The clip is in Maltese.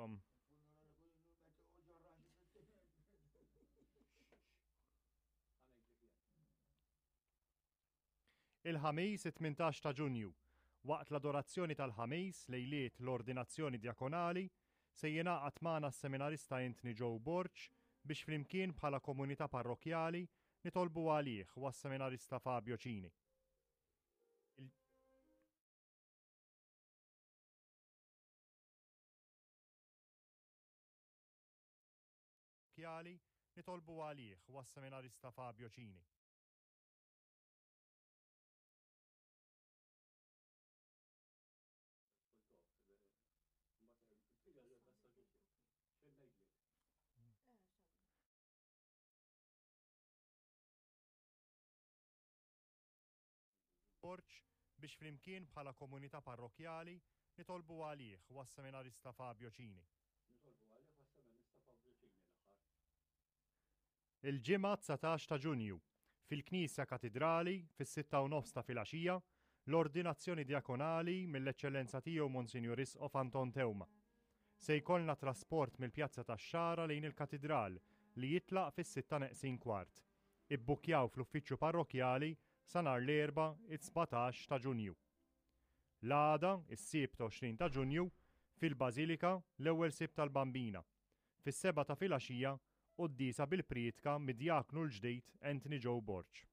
Kom. Il-Ħamis it-18 ta' Ġunju, waqt l-adorazzjoni tal-Ħamis lejliet l-ordinazzjoni djakonali, se jingħaqad magħna s-seminarista Anthony Joe Borg biex flimkien bħala komunità parrokkjali nitolbu għalih u għas-seminarista Fabio Cini. Kjali, nitolbu għalih u għas-seminarista Fabio Cini. Borg biex flimkien bħala komunità parrokkjali nitolbu għalih u għas-seminarista Fabio Cini. Nitolbu għalih u għas-seminarista Fabio Cini l-aħħar. Il-Ġimgħa 19 ta' Ġunju, fil-Knisja Katidrali, fis-sitta u nofs ta' filgħaxija, l-Ordinazzjoni Djakonali mill-Eċċellenza Tiegħu Monsinjur Isqof Anton Teuma. Se jkollna trasport mill-Pjazza tax-Xagħra lejn il-Katidral li jitlaq fis-sitta neqsin kwart. Ibbukkjaw fl-Uffiċċju Parrokkjali sa nhar l-Erbgħa, it-17 ta' Ġunju. L-għada, is-Sibt 20 ta' Ġunju, fil-Bażilika, l-ewwel Sibt tal-Bambina, fis-sebgħa ta' filgħaxija, quddiesa bil-prietka mid-djaknu l-ġdid Anthony Joe Borg.